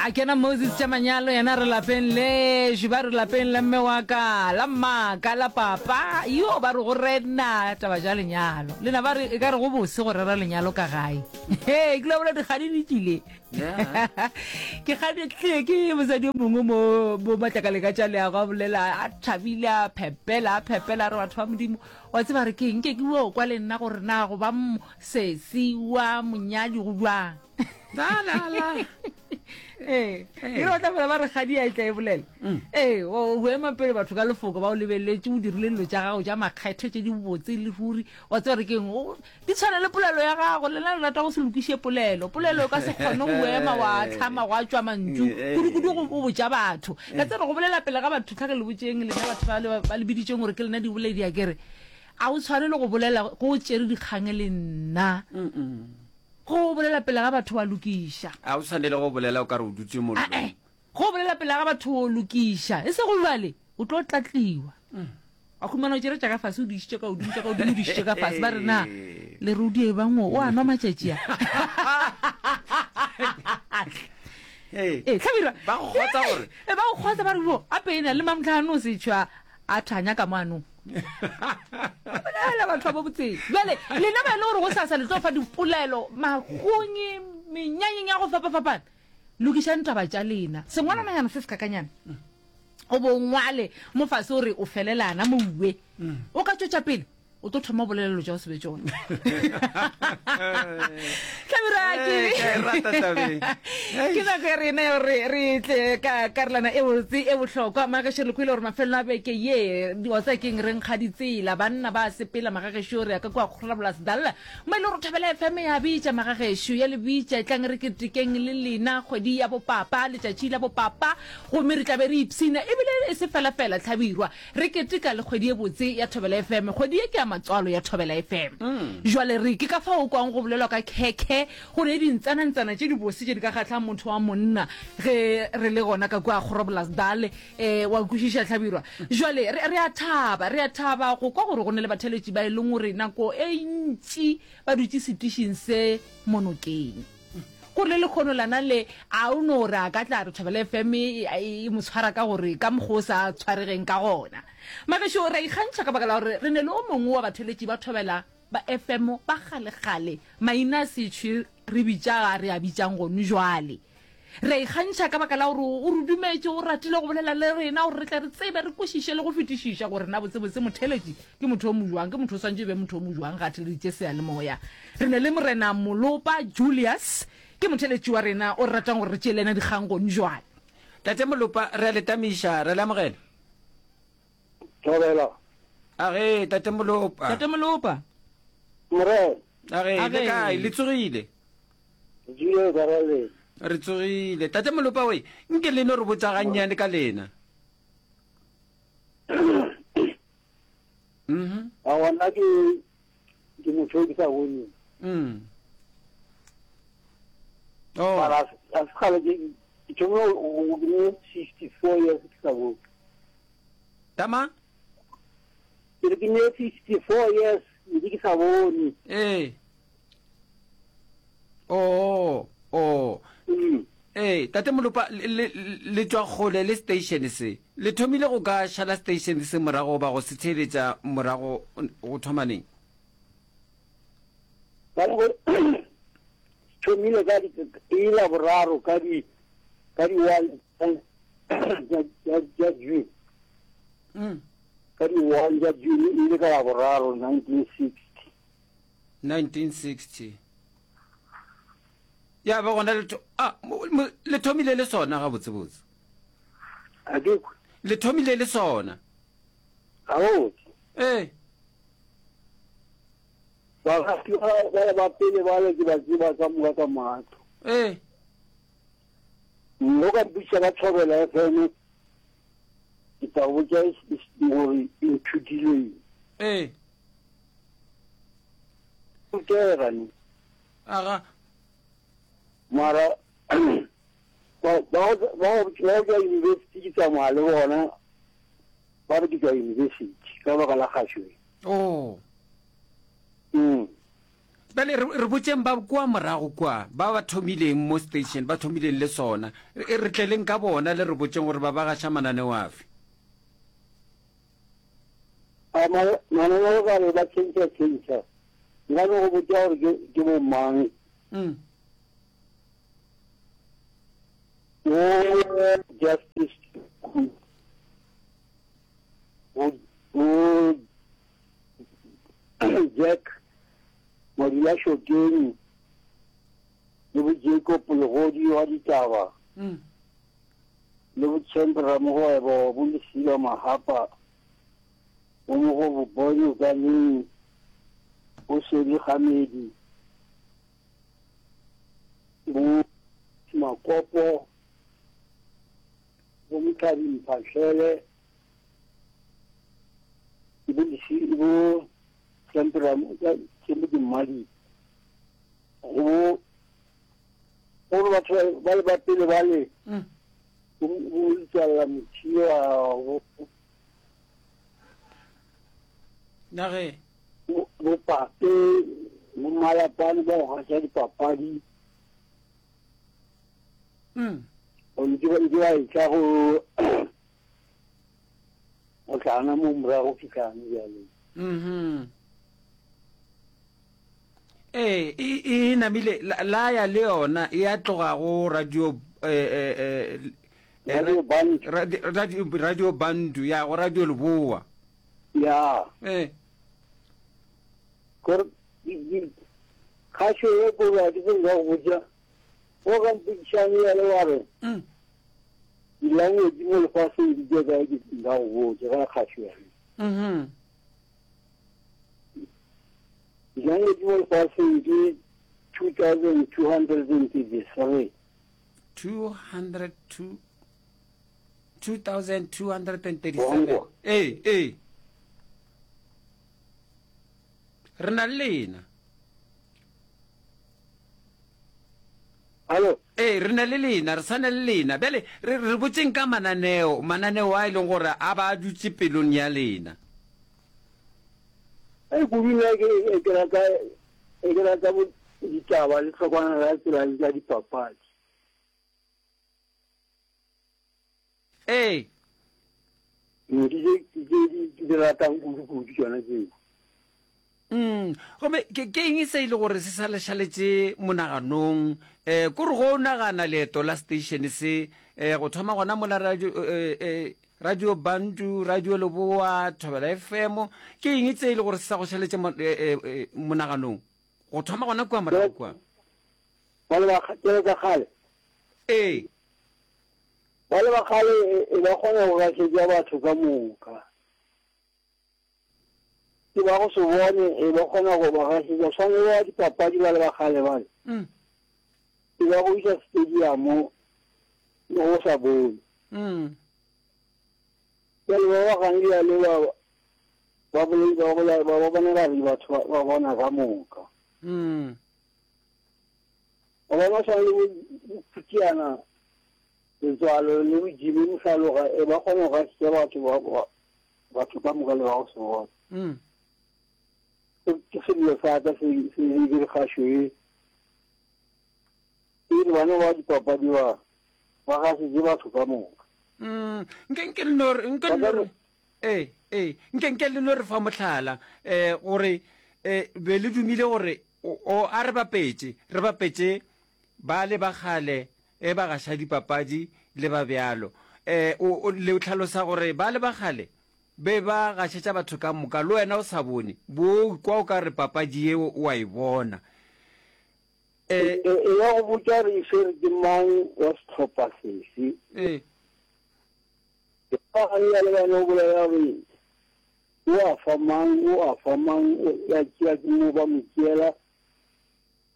A kena Moses tša manyalo yena re lapeng lešo ba re lapeng la mme wa ka la mmaka la papa yo ba re go rena taba tša lenyalo lena ba re e ka re go bose go rera lenyalo ka gae he ke lo bola dikgadi di tlile ke kgadi tlile ke mosadi yo mongwe mo mo matlakaleng a tša leago a bolela a thabile a phepela a phepela a re batho ba modimo wa tseba re keng nke ke o kwa le nna gore na go ba sesi wa monyadi go bjang La la la. Ee, e re tla fela ba re kgadi a e tla e bolela. Mm. Ee, o o ema pele batho ka lefoko ba o lebeletse o dirile dilo tša gago tša makgethe tše di botse le ruri wa tseba re keng o di tshwana le polelo ya gago lena le rata go se lokiše polelo polelo o ka se kgone go ema wa tlhama gwa tšwa mantšu kudu-kudu go o botša batho ka tsere go bolela pele ga batho tlhake le botšeng lena batho ba le ba le biditšeng gore ke lena diboledi a kere a o tshwane le go bolela go o tšere dikgang le nna Go bolela pele ga batho wa lokiša. A o tshwanele go bolela o ka re o dutše mollong. Ae, go bolela pele ga batho o lokiša. E sego bjale, o tlo tlatliwa. Wa humana o tšere tša ka fase o di išitše ka godimo, tša ka godimo o di išitše ka fase. Ba re na lerodi e bang o a nwa matšatši a. Ee, Ee, Hlabirwa. Ba go kgotsa gore. Ee, ba go kgotsa ba re bo, ape ena le mamtlhano o se tšhwa a thanya ka moanong. Bolela batho ba bo botseng. Bjale lena ba e le gore go sasa le tlo fa dipolelo magonye menyanyeng ya go fapafapana. Lokišang taba tša lena. Sengwalananyana se se kakanyana. O bo ngwale mo fase o re o felelana mouwe. O ka tšwetša pele o tlo thoma bolela dilo tša go se be tšona. Hlabirwa ke Ee, ke a e rata tabeng. ke nako ya rena ya gore re tle ka karolwana e botse e bohlokwa. Magagešo re kwele gore mafelelo a beke ye wa tseba keng re nkga ditsela banna ba sepela magagešo re ya ka kua Groblersdal mo e le gore Thobela FM ya bitša magagešo ya le bitša etlang re ketekeng le lena kgwedi ya bopapa letšatši la bopapa gomme re tla be re ipshina ebile e se fela fela Hlabirwa Re keteka le kgwedi ye botse ya Thobela FM. Kgwedi ye ke ya matswalo ya Thobela FM. Jwale re, ke ka fao o kwang go bolelwa ka khekhe, go ne dintsanantsana tše dibose tše di ka kgahlang motho wa monna ge re le gona ka kua Groblersdal. Eh, wa kwešiša Hlabirwa? Jwale re, re a thaba, re a thaba go kwa gore go ne le batheeletši ba e leng gore nako e ntši ba dutše setišing se mo nokeng. Gore le lekgono lana le, a o no re a ka tla re Thobela FM e, e mo tshwara ka gore ka mokgwa o sa tshwaregeng ka gona. Magešo, re a ikgantšha ka baka la gore re ne le o mongwe wa batheeletši ba Thobela ba FM ba kgalekgale, maina a setšhwe re bitša ga re a bitšang gone jwale. Re a ikgantšha ka baka la gore o re dumetše, o ratile go bolela le rena gore re tle re tsebe, re kwešiše le go fetišiša gore na botsebotse motheeletši ke motho o mojwang, ke motho o swantše e be motho o mojwang ga a theeleditše seyalemoya. Re ne le Morena Molopa Julius, ke motheeletši wa rena o re ratang gore re tšee le yena dikgang gone jwale. Tate Molopa, re a le tamiša, re a le amogela. Thobela. Age, Tate Molopa. Tate Molopa. Morena. Age, le kae? Le tsogile? Re tsogile ka ra lena. Re tsogile. Tate Molopa we, nke le no re botša gannyane ka lena. Mhm. Aowa nna ke ke motho yo ke sa boneng. Mm. Oh. Mara a se kgale ke ke thomile go ke ne 64 years ke sa bone. Tama? Ke re ke ne 64 years ntse ke sa bone. Ee. Oh, oh. Mm. Ee, Tate Molopa, le, le, le tšwa kgole le station se. Le thomile go ka šala station se morago goba go se theeletša morago go thoma neng? Ba re thomile ka di e la boraro ka di ka di one tša June. Mm. Ka di one tša June e le ka la boraro 1960. 1960. Ya ba gona le tho, ah, le thomile le sona gabotsebotse. A ke kwe. Le thomile le sona. Gabotse. Ee. Bagati ba ba ba pele bale ke ba tseba ka moka ka matlo. Ee. Mo ka mpitša ka Thobela FM ke tla botša gore e nthutile eng. Ee. Rutega ne. Aga. Mara ba ba ba ba tšwa university ke tsamaya le bona ba re ke tšwa university ka baka la kgašo e. Oh. Mm. Bjale re, re botšeng ba kua morago kua, ba ba thomileng mo station, ba thomileng le sona. Re, re tleleng ka bona le re botšeng gore ba ba gaša mananeo afe. A ma, mananeo ka re ba tšhentšha tšhentšha. Nka no go botša gore ke, ke bo mang. Mm. Wo Justice Ku, wo, wo Jack Madulašokeng le bo Jacob Legodi wa ditaba mm. le bo Champ Ramogwebo bo Lesila Mahapa bo Mogobo Bonyo Kaneng bo Sedi Gamedi bo Makopo bo Mothabi Mphahlele bo bo Champ Mmadi go gore batho ba le ba pele ba le mm. bo letswalela mothiwa bo nage bo pape bo malapane ba go gaša dipapadi mm. ntse ba etla go go tlana mo morago fitlhang bjale mhm ee e, e namile la ya le yona e ya tloga go radio eh, eh, eh, radio bandu radio, radio bandu ya go radio leboa ya eh gore kgašo ye kore a ke se nka go botša go ka mpotšišane ya le wa re mm. Dilanguage mo lefaseng di tše kae ke nka go botša ka kgašo ya mm-hmm. Dilanguage mo lefaseng ke 2233 202 2237 ee ee re na le lena Alo? Ee, re na le lena, re sa na le lena. Bjale, re, re botšeng ka mananeo, mananeo a e leng gore a ba a dutše pelong ya lena. Ei, kudu nna ke, ke rata, ke rata bo ditaba le tlhokwana la tsela le tša dipapadi. Ee. Ke tše tše di di ratang kudu-kudu tšona tšeo. Mm, gomme ke ke eng se e le gore se sa le šaletše monaganong? Eh, ko re go o nagana leeto la station se, eh, go thoma gona mola radio, eh, eh, Radio Bantu, Radio Leboa, Thobela FM, ke eng tse e le gore se sa go šaletše mo, eh, eh, eh, monaganong? Go thoma gona kua morago kua. Ba le ba kgale ka kgale. Ee. Ba le ba kgale e ba kgona go gašetša batho ka moka. Ke ba go se bone e ba kgona go ba gašetša. Swane le ba dipapadi ba le ba kgale bale. Mm. E ba go iša stadium le go sa bone. Mm. Bjale ba ba gane bjale ba ba bolei ba bola ba ba bona ba re batho ba ba bona ka moka. Mm. Ba bona swane le bo Phutiana Letswalo le bo Jimmy Mohlaloga e ba kgona go gašetša batho ba ba batho ka moka le ba go se bona. Mm. Ke sello sa ka se se ke re kgašo e. E re bana ba dipapadi ba ba gašetše batho ka moka. Mm. Nke nke le no re nke le no re ee ee nke nke le no re fa mohlala eh gore eh be le dumile gore o a re bapetše re bapetše ba le ba kgale e ba gaša dipapadi le ba bjalo. E, o, o, le hlalosa gore ba le ba kgale be ba gašetša batho ka moka, le wena o sa bone, bo o kwa o ka re papadi yeo o a e bona. E, E, e ya go botša gore e swere ke mang wa sehlopha sefe. E. Ba gane bjale ba no bolela gore o a fa mang, o a fa mang, ya tšea ke mo ba mo tšeela.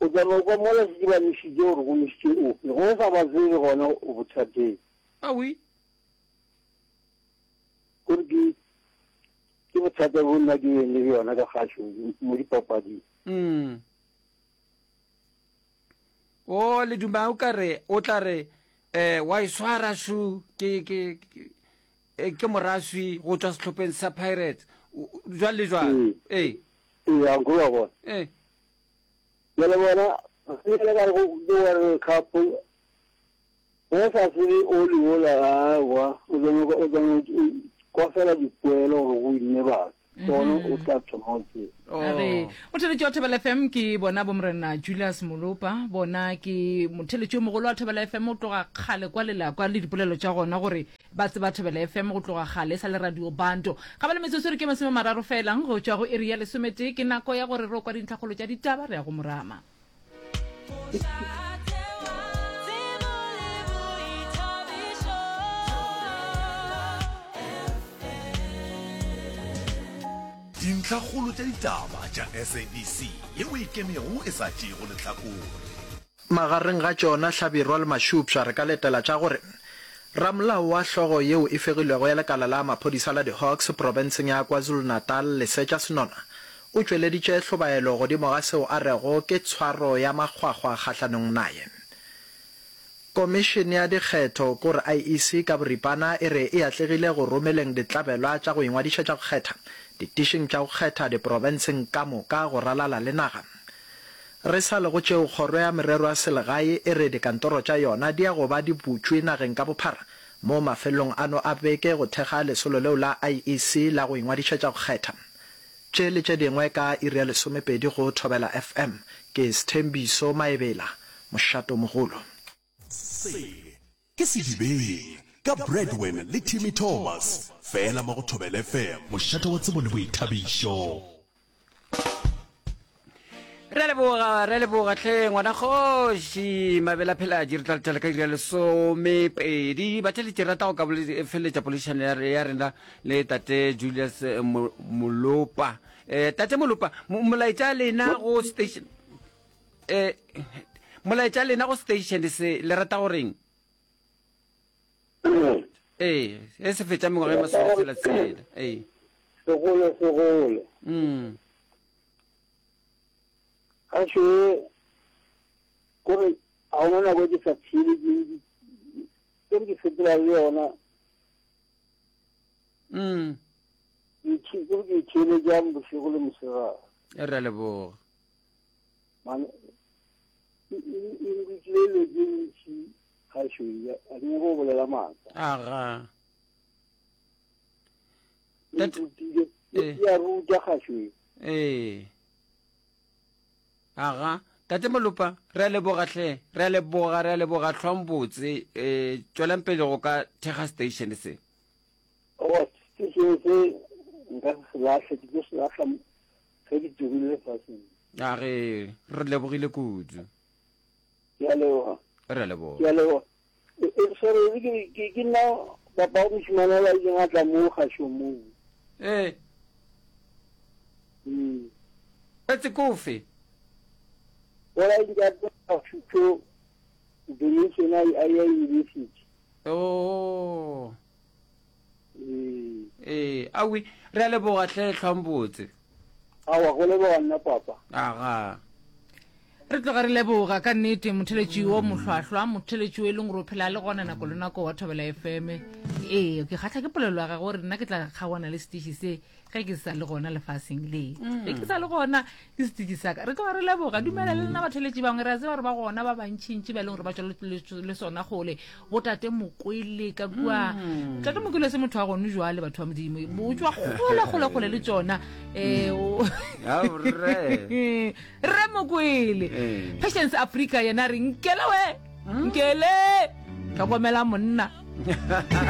O tla no kwa mola šetše ba nwešitše gore go nwešitše ofe. Ge o sa ba tsebe gona o bothateng. Awi. Kore ke ke bothata bo nna ke beng le bjona ka kgašo mo dipapading. Mm. O le duma o ka re o tla re eh wa e swara shu ke ke ke eh, moraswi go tšwa sehlopheng sa Pirates. Jwale le jwale. Ee. Ee. Ee, a nko wa bona. Ee. Bjale bona, ge ka re go ke World Cup, ge sa tsebe oli wola, aowa, o tla nyaka, o tla kwa fela dipoelo gore go winne batho, ke gona o tla thoma go tseba. A re, Motheletši wa Thobela FM ke bona bomorena Julius Molopa, bona ke motheletši yo mogolo wa Thobela FM o tloga kgale kwa lela kwa le dipolelo tša gona gore Ba tseba Thobela FM go tloga kgale e sa le Radio Banto. Ga ba le metsotso e re ke masomemararo fela go tšwa go iri ya lesometee. Ke nako ya gore re o kwa dintlhakgolo tša ditaba re ya go morama. Dintlhakgolo tša ditaba tša SABC yeo e ikemego e sa tšeego lehlakore. Magareng ga tšona, Hlabirwa le Mašupša, re ka letela tša gore ramolao wa hlogo yeo e fegilwego ya lekala la maphodisa la di-Hawks profenseng ya KwaZulu-Natal, Lesetša Senona, o tšweleditše hlobaelo godimo ga seo a rego ke tshwaro ya makgwakgwa kgahlanong naye. Komišene ya Dikgetho, kore IEC ka boripana, e re e atlegile go romeleng ditlabelwa tša go ingwadišetša go kgetha ditišing tša go kgetha diprofenseng ka moka go ralala le naga. Re sa le go tšeo, Kgoro ya Merero ya Selegae e re dikantoro tša yona di ya go ba di butšwe nageng ka bophara mo mafelelong ano a beke go thekga lesolo leo la IEC la go ingwadišetša go kgetha. Tše le tše dingwe ka iri ya lesomepedi go Thobela FM. Ke Sthembiso Maebela, Mošatomogolo. Se ke Sedibeng ka Bradwin le Timmy Thomas, fela mo go Thobela FM, mošate wa tsebo le boithabišo. Re a leboga, re a leboga hle ngwana kgoši Mabela Pheladi. Re tla letela ka iri ya lesomepedi. Batheletši, re rata go ka feleletša poledišano ya ya rena le tate Julius eh, Molopa. Eh, tate Molopa, molaetša lena go station eh molaetša lena go station se le rata goreng? Ee, e se fetša mengwaga e masometshela tshela. Ee. Segole segole. Mm. Ga še kore ga ona nako e ke sa theeletšeng ke re ke sepela le yona. Mm. Ke ke ke theeletšang bošego le mosegare. Re a leboga. Man e e nrutile dilo tše ntši kgašo ye, a ke nyake go bolela maaka. Aga. E nrutile, e a ruta kgašo ye. Ee. Aga. Tate Molopa, re a leboga hle. Re a leboga, re a leboga hlwang botse. Eh, tšwelang pele go ka thekga station se. Owa, station se nka se se lahle, ke tlo se lahla ge ke tlogile lefaseng. A re, re lebogile kudu. Ke a leboga. Re a leboga. Ke a leboga. E, e, sorry, ke, ke, ke nna papa wa mošemane ola ileng a tla mo kgašong moo. Ee. Mm. Etse kofe? Ola ile a tla thuto donation a ya university. Oh. Ee. Ee, awi, re a leboga hle hlwang botse. Awa, go leboga nna papa. Aga. Re tloga re leboga ka nnete motheletši wo mohlwahlwa, motheletši o e leng gore o phela le gona nako le nako wa Thobela FM. Ee, ke kgahla ke polelo ya gagwe gore nna ke tla kgaoana le setiši se ge ke sa le gona lefaseng le. Ge ke sa le gona ke setiši sa ka. Re tloga re leboga. Dumela le lena batheletši bangwe, re a tseba gore ba gona ba bantšintši ba e leng gore ba tšwa le sona kgole. Botate Mokwele ka kua. Mm. Tate Mokwele se motho wa gone jwale batho ba modimo. Bo tswa kgole kgole kgole le tsona. Eh o Rre. Rre Mokwele. Eh. Patience Africa yena re nkele we. Mm. Nkele. Tlhokomela monna.